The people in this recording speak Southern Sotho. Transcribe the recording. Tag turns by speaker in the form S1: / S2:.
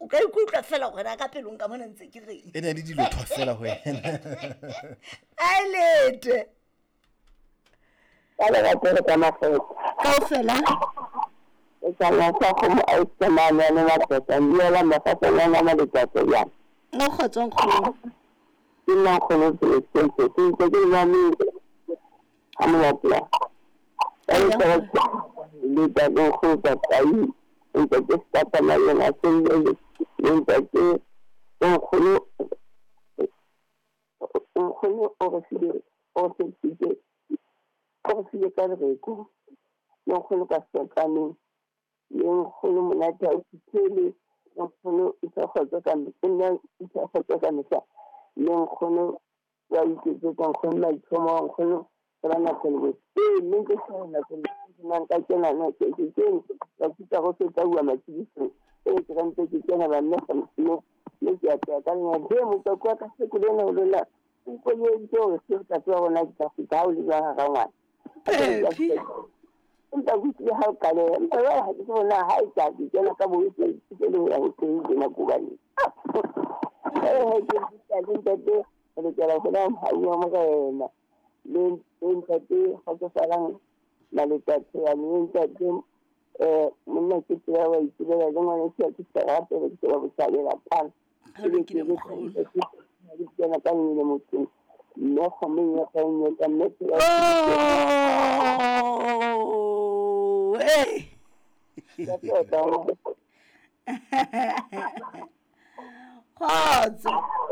S1: ka ikutlwa fela gore na ka pelong ka mona ntse ke reng.
S2: E ne le dilo thwa fela go wena.
S1: A lete.
S3: Ka lerato le ka makgetho.
S1: Kaofela.
S3: E tsamaya sa kgomo a e tsamaya le matsatsa mmuela mafatsanyana ma letsatsi jang.
S1: Mo kgotso nkgono.
S3: Ke nna nkgono Celestine, ke ntse ke nna le ha monate ya. Ka letsatsi le ntate nkgono Tatai, ntate Stata Mayena Selle, le ntate nkgono nkgono o re file o re tshepisitse o re file ka lereko le nkgono ka sekaneng le nkgono monate ha o fitlhele le nkgono isa kgotso ka nna isa kgotso ka mehla le nkgono wa iketsetsa nkgono maitlhomo nkgono re ba nako le botse ee mme ke sa nako le nang ka kena na ke ke kene ka fitsa go fetsa bua matshedisong ee ke rantse ke kena ba mme mme mme ke a tsaya ka lena he mokako wa ka seko lena o lona o mponyeditse gore seo tate wa rona ke tla feta ha o le jwang hara ngwana
S1: Phephi.
S3: Empa ke utlwile ha o qaleha empa jwale ha ke tsebe na ha e tla ke kena ka bo ke ke le ho ya ho teng tjena ko hobane ee ke le ntate re lokela ho na mohau wa morena le le ntate kgotsofalang maletsatsi yane le ntate um monna ke tseba wa itsebela le ngwana ke ke sa rapele ke tseba bothabela kwana
S1: Ho lokile mokgolo.
S3: ke kena ka nngwe motseng mme kgomeng ya ka nngwe ka mme
S1: Oh, hey. Kgotso.